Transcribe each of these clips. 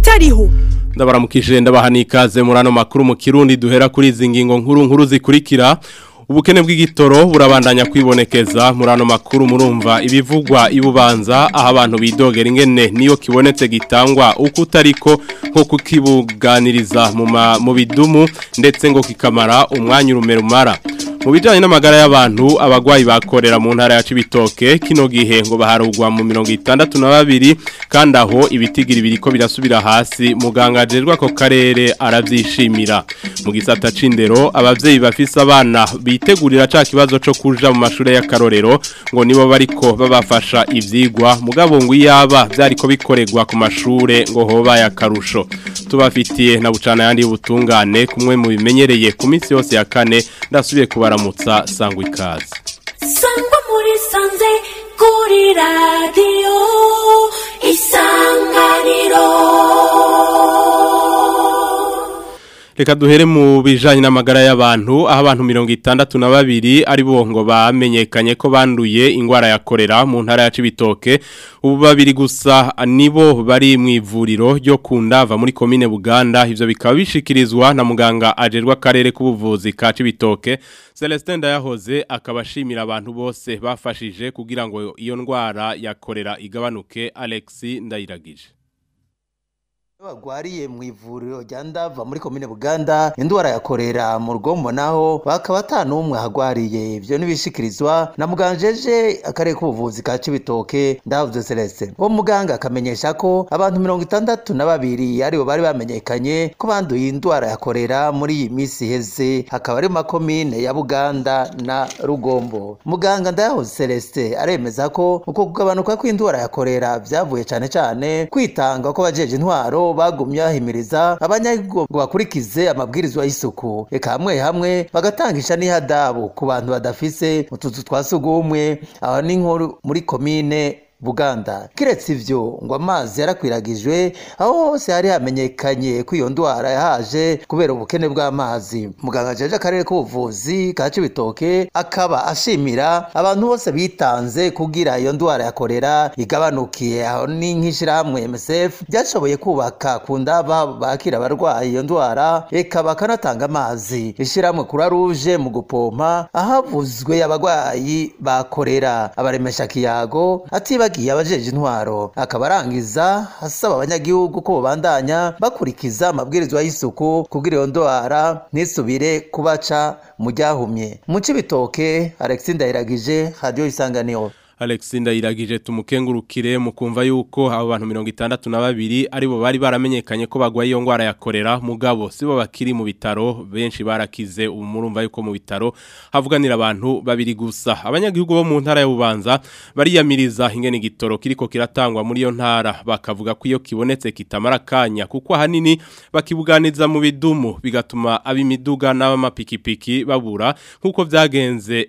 Ibitariho. Ndabaramukije, ndabaha n'ikaze muri ano makuru mu Kirundi. Duhera kuri izi ngingo nkuru nkuru zikurikira: Ubukene bw'igitoro burabandanya kwibonekeza. Muri ano makuru murumva ibivugwa ibubanza, aho abantu bidogera ingene niyo kibonetse gitangwa uko utariko, nko kukibuganiriza mu bidumu, ndetse ngo kikamara umwanya urumerumara. Mu bijanye n'amagara y'abantu, abagwayi bakorera mu ntara ya Cibitoke kino gihe ngo baharugwa mu 62, kandi aho ibitigiri biriko birasubira hasi, muganga ajerwa ko karere aravyishimira. Mu gisata c'indero, abavyeyi bafise abana bitegurira ca kibazo co kuja mu mashure y'akarorero ngo nibo bariko babafasha ivyigwa, mugabo ngo iyaba vyariko bikoregwa ku mashure ngo hoba yakarusho. Tubafitiye na bucana yandi y'ubutungane kumwe mu bimenyereye ku minsi yose ya kane. Ndasubiye kubaramutsa, sangwa ikaze. Sangwa muri sanze, kuri radiyo Isanganiro. Reka duhere mu bijanye n'amagara y'abantu, aho abantu 62 ari bo ngo bamenyekanye ko banduye ingwara ya korera mu ntara ya Cibitoke. Ubu babiri gusa nibo bari mu ivuriro ryo kundava muri komine Buganda. Ivyo bikaba bishikirizwa na muganga ajerwa karere k'ubuvuzi ka Cibitoke, Celestin Ndayahoze, akaba ashimira abantu bose bafashije kugira ngo iyo ndwara ya korera igabanuke. Alexis Ndayiragije. Bagwariye mu ivuriro rya Ndava muri komine Buganda indwara ya korera, mu Rugombo naho bakaba ata n'umwe ahagwariye. Ivyo nibishikirizwa na muganjeje akarere k'ubuvuzi ka Cibitoke, Ndavuze Celestin. Uwo muganga akamenyesha ko abantu 62 aribo bari bamenyekanye ko banduye indwara ya korera muri iyi misi iheze, hakaba ari mu makomine ya Buganda na Rugombo. Muganga Ndayahoze Celestin aremeza ko uko kugabanuka kw'indwara ya korera vyavuye cane cane kwitanga ko bajeje intwaro bagumye bahimiriza abanyagihugu ngo bakurikize amabwirizwa y'isuku, eka hamwe hamwe bagatangisha n'ihadabu ku bantu badafise utuzu twa sugumwe. Aho ni nko muri komine Buganda. Kiretse ivyo, ngo amazi yarakwiragijwe aho hose hari hamenyekanye ko iyo ndwara yahaje kubera ubukene bw'amazi. Muganga jeje akarere k'ubuvuzi ka Cibitoke akaba ashimira abantu bose bitanze kugira iyo ndwara ya korera igabanukiye. Aho ni nk'ishirahamwe MSF ryashoboye kubaka ku ndava bakira abarwayi iyo ndwara, eka bakanatanga amazi, ishirahamwe Croix Rouge mu gupompa ahavuzwe abagwayi ba korera, abaremesha kiyago, atibagiye abajeje intwaro. Akaba arangiza asaba abanyagihugu ko bobandanya bakurikiza amabwirizwa y'isuku kugira iyo ndwara ntisubire kubaca mu ryahumye. Mu Cibitoke, Alexis Ndayiragije, Radio Isanganiro. Alexis Ndayiragije tumukengurukire. Mukumva yuko abo bantu 62 aribo bari baramenyekanye ko bagwaye iyo ngwara ya korera, mugabo sibo bakiri mu bitaro, benshi barakize. Ubu murumva yuko mu bitaro havuganira abantu babiri gusa. Abanyagihugu bo mu ntara ya Bubanza bariyamiriza ingene igitoro kiriko kiratangwa muri iyo ntara, bakavuga ko iyo kibonetse kitamara kanya, kuko ahanini bakibuganiza mu bidumu, bigatuma ab'imiduga n'abamapikipiki babura, nkuko vyagenze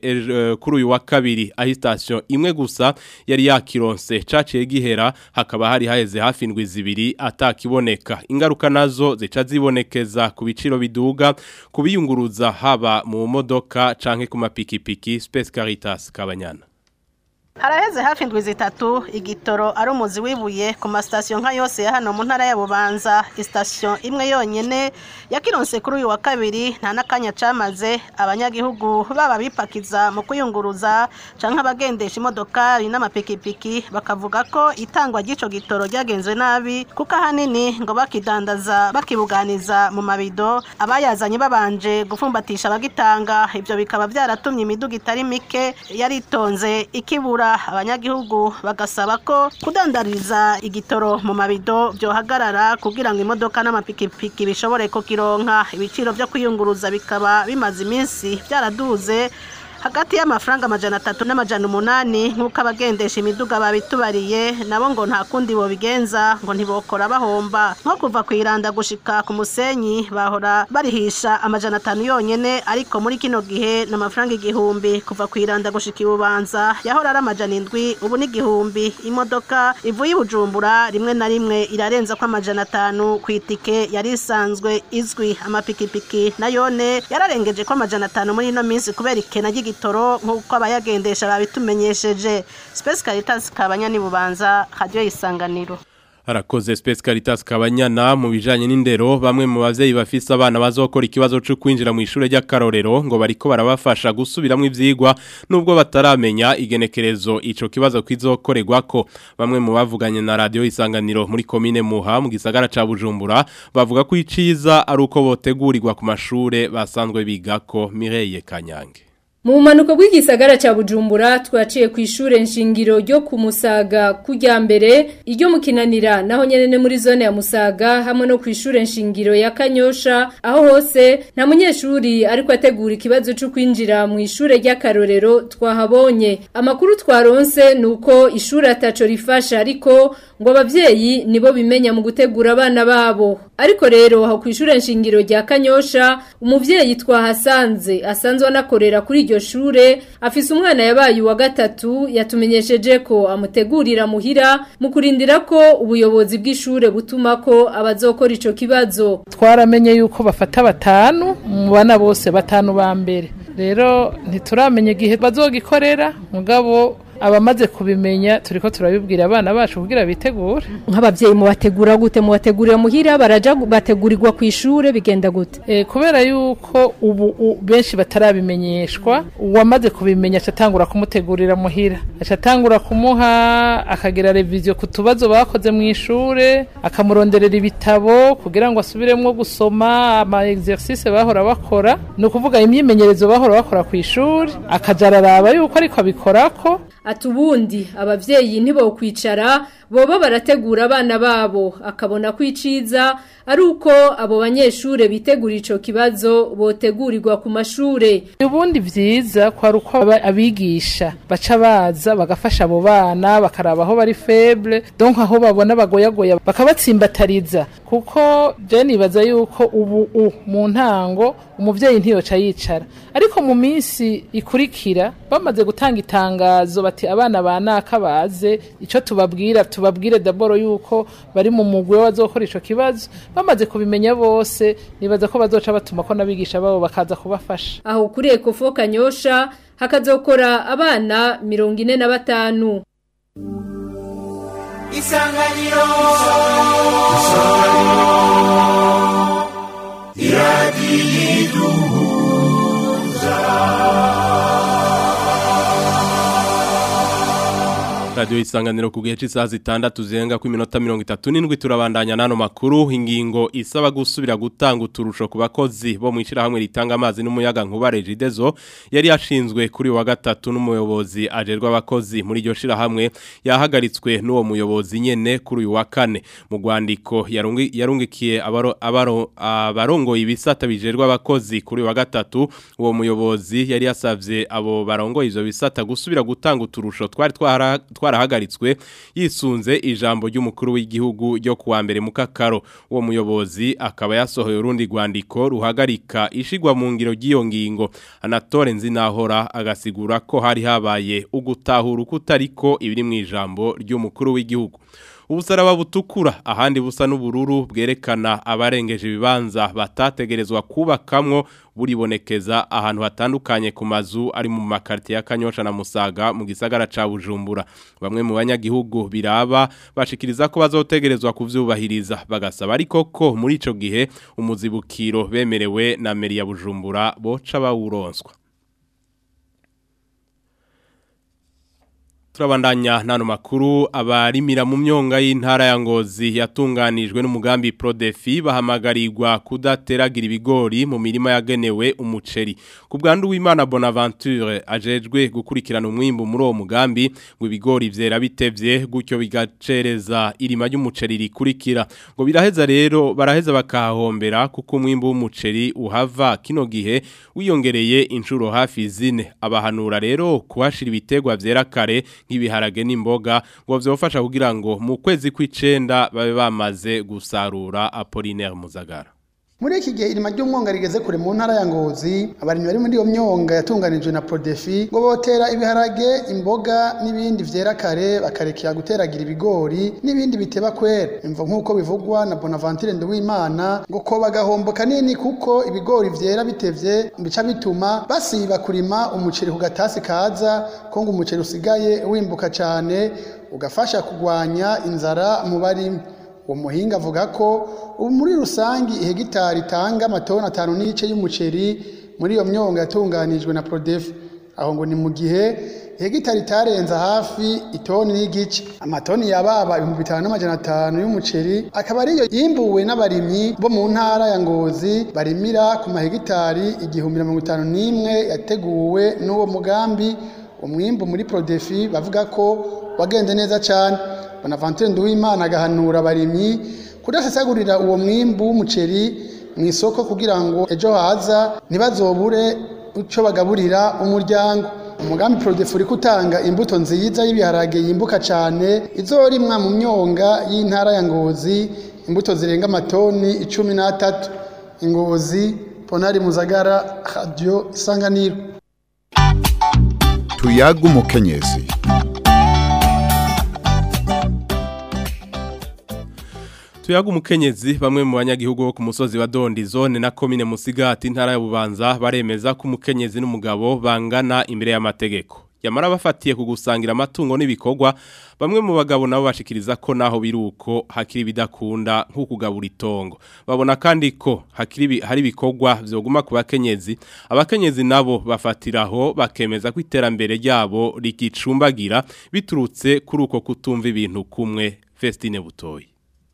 kuri uyu wa kabiri, aho station imwe gusa yari yakironse caciye gihera, hakaba hari haheze hafi indwi 2 atakiboneka. Ingaruka nazo zica zibonekeza ku biciro biduga kubiyunguruza, haba mu modoka canke ku mapikipiki. Space Caritas Kabanyana. Haraheze hafi indwi 3 igitoro ari umuzi wibuye ku masitasiyo nka yose ya hano mu ntara ya Bubanza. Isitasiyo imwe yonyene yakironse kuri uyu wa kabiri, nta n'akanya camaze. Abanyagihugu baba bipakiza mu kuyunguruza canke abagendesha imodokari n'amapikipiki bakavuga ko itangwa ry'ico gitoro ryagenze nabi, kuko ahanini ngo bakidandaza bakibuganiza mu mabido, abayazanye babanje gufumbatisha abagitanga. Ivyo bikaba vyaratumye imiduga itari mike yaritonze ikibura. Abanyagihugu bagasaba ko kudandariza igitoro mu mabido byohagarara kugira ngo imodoka n'amapikipiki bishobore kukironka. Ibiciro byo kwiyunguruza bikaba bimaze iminsi byaraduze hagati y'amafaranga 300 n'800, nk'uko abagendesha imiduga babitubariye. Nabo ngo nta kundi bobigenza, ngo ntibokora bahomba. Nko kuva ku Iranda gushika ku Musenyi bahora barihisha 500 yonyene, ariko muri kino gihe n'amafaranga 1000. Kuva ku Iranda gushika Ibubanza yahora ari 700, ubu ni 1000. Imodoka ivuye Bujumbura rimwe na rimwe irarenza ko 500 ku itike yari isanzwe izwi. Amapikipiki nayone yararengeje ko 500 muri ino minsi kubera ikena ry'igitoro, nk'uko abayagendesha babitumenyesheje. Space Caritas Kabanya ni Bubanza, Radio Isanganiro. Harakoze Space Caritas Kabanyana mu bijanye n'indero bamwe mu bavyeyi bafise abana bazokora ikibazo cyo kwinjira mu ishure ry'akarorero ngo bariko barabafasha gusubiramwo ivyigwa nubwo bataramenya igenekerezo ico kibazo kizokorerwako. Bamwe mu bavuganye na radio Isanganiro muri commune Muha mu gisagara ca Bujumbura bavuga ko iciza ari uko botegurirwa ku mashure basanzwe bigako. Mireille Kanyange. Mu manuko bw'igisagara ca Bujumbura twaciye ku ishure nshingiro ryo ku Musaga kujya mbere iryo mukinanira naho nyene muri zone ya Musaga hamwe no ku ishure nshingiro ya Kanyosha, aho hose nta munyeshuri ariko ategura ikibazo cyo kwinjira mu ishure ry'akarorero twahabonye. Amakuru twaronse nuko ishure ataco rifasha ariko ngo abavyeyi nibo bimenya mu gutegura abana babo. Ariko rero aho ku ishure nshingiro rya Kanyosha umuvyeyi twahasanze asanzwe anakorera kuri iryo shure afise umwana yabaye wa gatatu yatumenyesheje ko amutegurira muhira mu kurindira ko ubuyobozi bw'ishure butuma ko abazokora ico kibazo. Twaramenye yuko bafata batanu mu bana bose batanu ba mbere, rero ntituramenye igihe bazogikorera, mugabo abamaze kubimenya turiko turabibwira abana bacu kugira bitegure. Nk'abavyeyi mubategura gute? Mubategurira muhira, baraja bategurirwa ku ishure, bigenda gute? Kubera yuko ubu benshi batarabimenyeshwa, uwamaze kubimenya acatangura kumutegurira muhira, acatangura kumuha akagira revision ku tubazo bakoze mu ishure, akamuronderera ibitabo kugira ngo asubiremwo gusoma ama exercice bahora bakora, no kuvuga imyimenyerezo bahora bakora ku ishure, akajararaba yuko ariko abikorako. Atubundi abavyeyi ntibo kwicara boba barategura abana babo, akabona kwiciza ari uko abo banyeshure bitegura ico kibazo botegurirwa ku mashure. Ubundi vyiza kwa ruko abigisha baca baza bagafasha abo bana bakaraba aho bari faible, donc aho babona bagoyagoya bakabatsimbatariza, kuko je nibaza yuko ubu mu ntango umuvyeyi ntiyoca yicara, ariko mu minsi ikurikira bamaze gutanga itangazo bati abana banaka baze, ico tubabwire daboro yuko bari mu mugwe wazokora ico kibazo, bamaze kubimenya bose nibaza ko bazoca batuma ko nabigisha babo bakaza kubafasha. Aho kuri Ecofo Kanyosha hakazokora abana 45. Isanganiro iradiyiduhuza. Radio Isanganiro ku gihe cy'isaha 6 zirenga ku minota 37 turabandanya nano makuru. Ingingo isaba gusubira gutanga uturusho ku bakozi bo mu ishirahamwe ritanga amazi n'umuyaga nkuba Regideso yari yashinzwe kuri wa gatatu n'umuyobozi ajerwa abakozi muri iryo shirahamwe yahagaritswe n'uwo muyobozi nyene kuri uyu wa kane. Mu rwandiko yarungikiye abarongoye ibisata bijerwa abakozi kuri wa gatatu, uwo muyobozi yari yasavye abo barongoye ivyo bisata gusubira gutanga uturusho twari twarahagaritswe yisunze ijambo ry'umukuru w'igihugu ryo kuwa mbere mu kakaro. Uwo muyobozi akaba yasohoye urundi rwandiko ruhagarika ishigwa mu ngiro ry'iyo ngingo. Anatole Nzinahora agasigura ko hari habaye ugutahura kutariko ibiri mu ijambo ry'umukuru w'igihugu. Ubusaraba butukura ahandi busa n'ubururu bwerekana abarengeje ibibanza batategerezwa kubakamwo buribonekeza ahantu hatandukanye ku mazu ari mu makartie ya Kanyosha na Musaga mu gisagara ca Bujumbura. Bamwe mu banyagihugu biraba bashikiriza ko bazotegerezwa kuvyubahiriza, bagasaba ariko ko muri ico gihe umuzibukiro bemerewe na meri ya Bujumbura boca bawuronswa. Turabandanya nano makuru. Abarimira mu myonga y'intara ya Ngozi yatunganijwe n'umugambi Prodefi bahamagarirwa kudateragira ibigori mu mirima yagenewe umuceri. Ku bwandu w'Imana Bonaventure ajejwe gukurikirana umwimbu muri uwo mugambi ngo ibigori vyera bitevye gutyo bigacereza irima ry'umuceri rikurikira. Ngo biraheza rero baraheza bakahombera kuko umwimbu w'umuceri uhava kino gihe wiyongereye inshuro hafi zine. Abahanura rero kuhashira ibitegwa vyera kare nk'ibiharage n'imboga ngo vyofasha kugira ngo mu kwezi kw'icenda babe bamaze gusarura. Apollinaire Muzagara. Muri iki gihe irima ry'umwonga rigeze kure mu ntara ya Ngozi, abarimyi bari muri iyo myonga yatunganijwe na Prodefi ngo botera ibiharage, imboga n'ibindi vyera kare, bakarekera guteragira ibigori n'ibindi biteba kwera. Imvo nk'uko bivugwa na Bonaventure Nduwimana ngo ko bagahombo kanini kuko ibigori vyera bitevye bica bituma basiba kurima umuceri ku gatasi kaza, ko ngo umuceri usigaye wimbuka cane ugafasha kugwanya inzara mu barimyi. Uwo muhinga avuga ko ubu muri rusangi ihegitari itanga amatoni 5.5 y'umuceri muri iyo myonga yatunganijwe na Prodefi. Aho ngo ni mu gihe hegitari itarenza hafi itoni n'igice. Amatoni yababa 5500 y'umuceri akaba ariyo yimbuwe n'abarimyi bo mu ntara ya Ngozi barimira ku mahegitari 1051 yateguwe n'uwo mugambi. Umwimbu muri Prodefi bavuga ko wagenze neza cyane. Bonaventure Nduwimana agahanura abarimyi kudasesagurira uwo mwimbu w'umuceri mu isoko kugira ngo ejo haza ntibazobure uco bagaburira umuryango. Umugambi Prodefi uri kutanga imbuto nziza y'ibiharage yimbuka cyane izorimwa mu myonga y'intara ya Ngozi, imbuto zirenga amatoni 13. Ngozi, Ponari Muzagara, Radio Isanganiro. Tuyaga umukenyezi. Tuyaga umukenyezi. Bamwe mu banyagihugu bo ku musozi wa Dondi zone na komine Musigati intara ya Bubanza baremeza ko umukenyezi n'umugabo bangana imbere y'amategeko. Yamara bafatiye kugusangira amatungo n'ibikorwa, bamwe mu bagabo nabo bashikiriza ko naho biruko hakiri bidakunda nko kugabura itongo. Babona kandi ko hakiri hari ibikorwa vyoguma ku bakenyezi. Abakenyezi nabo bafatiraho bakemeza ko iterambere ryabo rikicumbagira biturutse kuri uko kutumva ibintu kumwe. Festine Butoyi.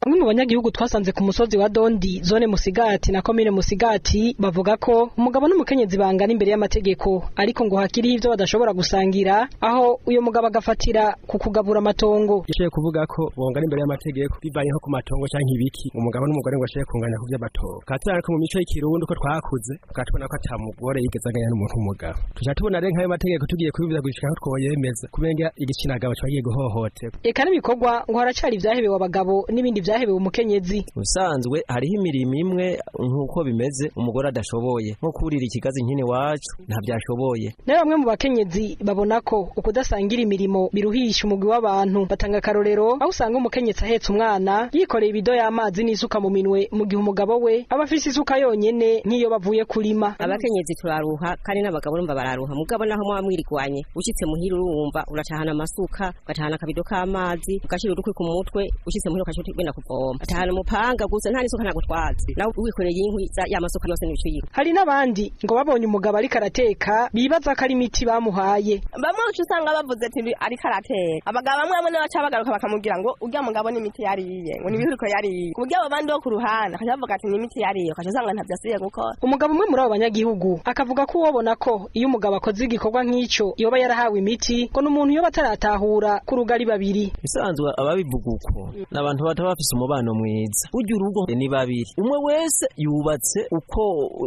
Bamwe mu banyagihugu twasanze ku musozi wa Dondi zone Musigati na komine Musigati bavuga ko umugabo n'umukenyezi bangana imbere y'amategeko, ariko ngo hakiri ivyo badashobora gusangira, aho uyo mugabo agafatira ku kugabura amatongo. Ishoye kuvuga ko bongana imbere y'amategeko bivanye nko ku matongo canke ibiki, umugabo n'umugore ngo ashobore kunganya ku vy'amatongo. Katira ko mu mico y'ikirundi ko twakuze tukatubona ko ata mugore yigeze anganya n'umuntu w'umugabo. Tuca tubona rero nk'ayo mategeko tugiye kubivuza gushika aho twoyemeza kubenga igitsina gabo cagiye guhohoterwa. Eka n'ibikorwa ngo haracari ivyahebewe abagabo n'ibindi vyahebewe umukenyezi. Usanzwe hariho imirimo imwe nkuko bimeze umugore adashoboye, nko kurira ikigazi nkine wacu ntavyashoboye. Nayo bamwe mu bakenyezi babona ko ukudasangira imirimo biruhisha umugwi w'abantu. Batanga karorero aho usanga umukenyezi ahetse umwana yikoreye ibido y'amazi n'isuka mu minwe, mu gihe umugabo we aba afise isuka yonyene nk'iyo bavuye kurima. Abakenyezi turaruha kandi n'abagabo urumva bararuha, mugabo naho muba mwirigwanye ushitse muhira urumva uracahana amasuka, ugatahana akabido k'amazi, ugashira urukwi ku mutwe, ushitse muhira ukaca ugenda kuvoma, atahana umupanga gusa nta n'isuka ntagutwaza, nawe wikoreye inkwi ya masuka yose n'ibicu yiwe. Hari n'abandi ngo babonye umugabo ariko arateka bibaza ko ari imiti bamuhaye. Bamwe uca usanga bavuze ati ariko arateka, abagabo bamwe bamwe baca bagaruka bakamubwira ngo urya mugabo n'imiti yariye, ngo n'ibihuriko yariye, ku buryo abo bandi bo ku ruhande bakaca bavuga ati n'imiti yariye, ukaca usanga ntavyo asubiye gukora. Umugabo umwe muri abo banyagihugu akavuga ko uwobona ko iyo umugabo akoze igikorwa nk'ico yoba yarahawe imiti, ngo n'umuntu yoba ataratahura ku rugari babiri. Bisanzwe ababivuga uko n'abantu bataba bafise umubano mwiza. Burya urugo ni babiri, umwe wese yubatse uko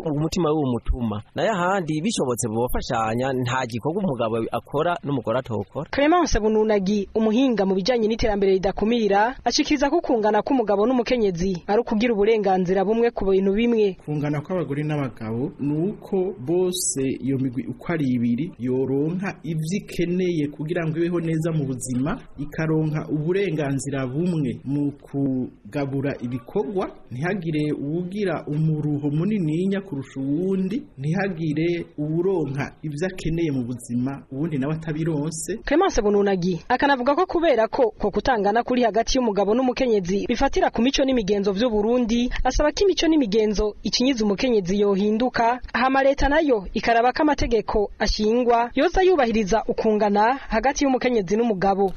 umutima we umutuma, nayo ahandi bishobotse bobafashanya, nta gikorwa umugabo akora n'umugore atokora. Clemence Bununagi, umuhinga mu bijanye n'iterambere ridakumira, ashikiriza ko kungana k'umugabo n'umukenyezi ari ukugira uburenganzira bumwe ku bintu bimwe. Kungana kw'abagore n'abagabo nuko bose iyo migwi uko ari ibiri yoronka ivyo ikeneye kugira ngo ibeho neza mu buzima, ikaronka uburenganzira bumwe mu kugabura ibikorwa, ntihagire uwugira umuruho munininya kurusha uwundi, ntihagire uwuronka ivyo akeneye mu buzima uwundi nawe atabironse. Clemence Bununagi akanavuga ko kubera ko kutangana kuri hagati y'umugabo n'umukenyezi bifatira ku mico n'imigenzo vy'u Burundi, asaba ko imico n'imigenzo ikinyiza umukenyezi yohinduka, hama leta nayo ikaraba ko amategeko ashingwa yoza yubahiriza ukungana hagati y'umukenyezi n'umugabo.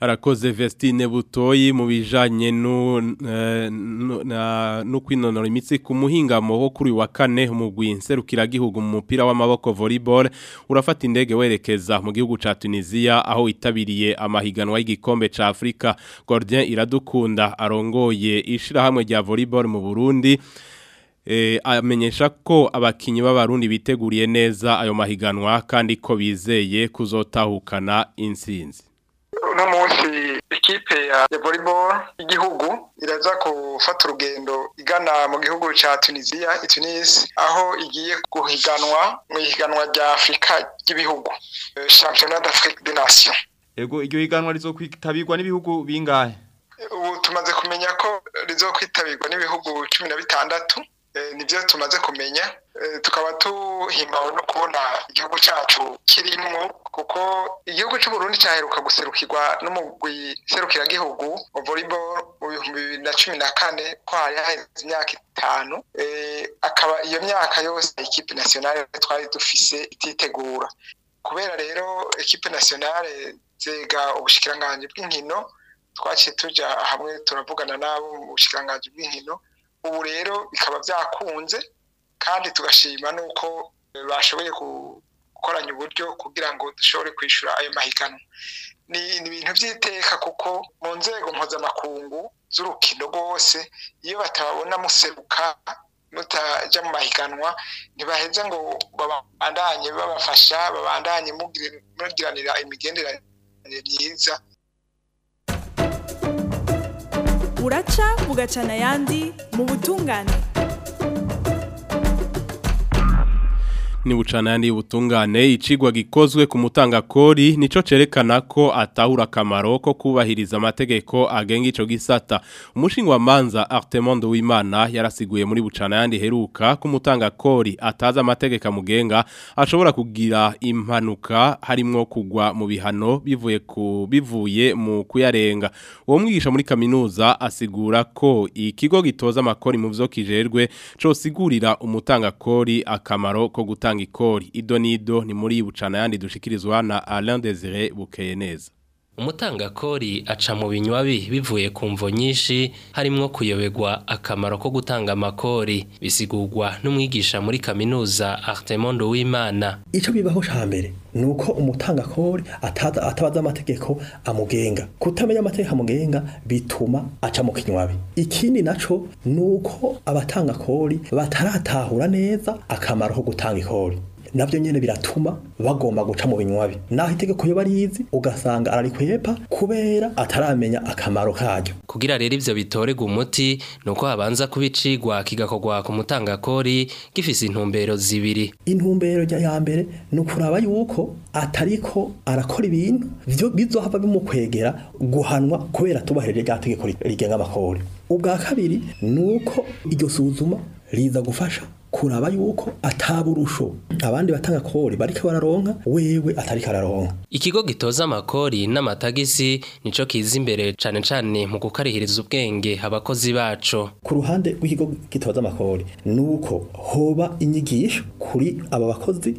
Arakoze Vestine Butoyi mu bijanye no kwinonora imitsi ku muhingamo wo kuri wa kane umugwi nserukiragihugu mu mupira w'amaboko volleyball urafata indege werekeza mu gihugu ca Tunisia aho itabiriye amahiganwa y'igikombe ca Afrika. Gordien Iradukunda arongoye ishirahamwe rya volleyball mu Burundi amenyesha ko abakinyi b'abarundi biteguriye neza ayo mahiganwa kandi ko bizeye kuzotahukana intsinzi. Uno munsi ikipe ya volleyball y'igihugu iraza gufata urugendo igana mu gihugu ca Tunisia, Tunis, aho igiye guhiganwa mu higanwa rya Afrika ry'ibihugu, Championnat d'Afrique des Nations. Ego iryo higanwa rizokwitabirwa n'ibihugu bingahe? Ubu tumaze kumenya ko rizokwitabirwa n'ibihugu 16. Nibyo tumaze kumenya. Tukaba tuhimbawe no kubona igihugu cyacu kirimwo, kuko igihugu cy'u Burundi cyaheruka guserukirwa n'umugwi serukiragihugu wa volleyball mu 2014, ko hari haheze imyaka 5. Akaba iyo myaka yose equipe nationale twari dufise ititegura. Kubera rero equipe nationale zega ubushikiranganji bw'inkino, twaciye tuja hamwe turavugana nabo mu bushikiranganji bw'inkino. Ubu rero bikaba byakunze, kandi tugashima nuko bashoboye gukoranya uburyo kugira ngo dushobore kwishura ayo mahiganwa. Ni ibintu by'iteka, kuko mu nzego mpuzamakungu z'urukino rwose iyo batababona museruka mutaja mu mahiganwa, ntibaheza ngo babandanye babafasha, babandanye mugiranira imigenderanire myiza. Uraca bugacana ayandi mu butungane. Ni bucana yandi ubutungane. Icigwa gikozwe ku mutangakori nico cerekana ko atahura akamaro ko kubahiriza amategeko agenga ico gisata. Umushinga wa manza Artemondo Wimana yarasiguye muri bucana yandi heruka ku mutangakori ataza amategeko amugenga ashobora kugira impanuka harimwo kugwa mu bihano bivuye mu kuyarenga. Uwo mwigisha muri kaminuza asigura ko ikigo gitoza amakori mu vyo kijerwe cosigurira umutangakori akamaro ko gutanga ikori. Ido nido ni muri bucana yandi dushikirizwa na Alain Désiré Bukeyeneza. Umutangakori aca mu binywabi bivuye ku mvo nyinshi harimwo kuyobegwa akamaro ko gutanga amakori, bisigurwa n'umwigisha muri kaminuza Artemondo Wimana. Ico bibaho ca mbere nuko umutangakori atabaza amategeko amugenga. Kutamenya amategeko amugenga bituma aca mu kinywabi. Ikindi naco nuko abatangakori bataratahura neza akamaro ko gutanga ikori. Navyo nyene biratuma bagomba guca mu binywabi. Naho itegeko yo barizi ugasanga ararikwepa kubera ataramenya akamaro karyo. Kugira rero ivyo bitorega umuti nuko habanza kubicigwa kigakorwa ku mutangakori gifise intumbero zibiri. Intumbero ya mbere ni ukuraba yuko atariko arakora ibintu vyo bizohava bimukwegera guhanwa kubera tubahirije rya tegeko rigenga amakori. Ubwa kabiri nuko iryo suzuma riza gufasha kuraba yuko ataburusho abandi batanga kori bariko bararonka wewe atariko araronka. Ikigo gitoza amakori n'amatagisi nico kiza imbere cane cane mu gukarihiriza ubwenge abakozi baco. Ku ruhande rw'ikigo gitoza amakori nuko hoba inyigisho kuri aba bakozi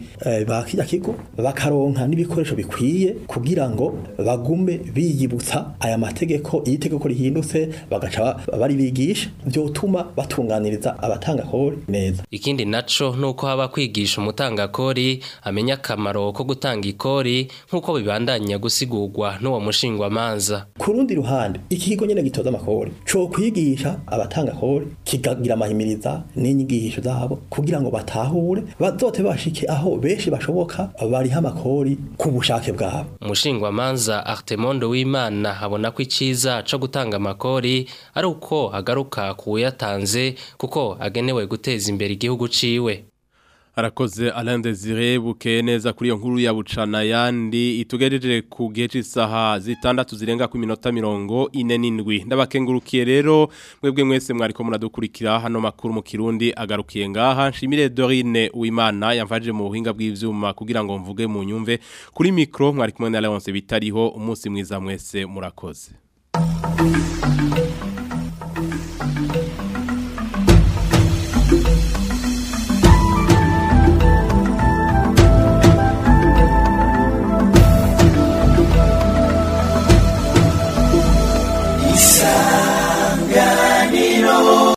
ba kirya kigo, bakaronka n'ibikoresho bikwiye kugira ngo bagume biyibutsa aya mategeko. Iyo itegeko rihindutse bagaca bari bigisha, vyotuma batunganiriza abatanga kori neza. Ikindi naco nuko haba kwigisha umutangakori amenya akamaro ko gutanga ikori nkuko bibandanya gusigurwa n'uwo mushingwa manza. Ku rundi ruhande ikigo nyene gitoza amakori co kwigisha abatanga kori kigagira amahimiriza n'inyigisho zabo kugira ngo batahure bazote bashike aho benshi bashoboka bariha amakori ku bushake bwabo. Umushingwa manza Artemondo Wimana abona ko iciza co gutanga amakori ari uko agaruka kuyatanze kuko agenewe guteza imbere igihugu ciwe. Arakoze Alain Désiré Bukeneza kuri iyo nkuru ya bucana yandi itugejeje ku gihe c'isaha 6 zirenga ku minota 47. Ndabakengurukiye rero mwebwe mwese mwariko muradukurikira hano makuru mu Kirundi agarukiye ngaha. Nshimire Dorine Uwimana yamfaje mu buhinga bw'ivyuma kugira ngo mvuge mu nyumve. Kuri micro mwari kumwe na Leonce Bitariho. Umunsi mwiza mwese, murakoze.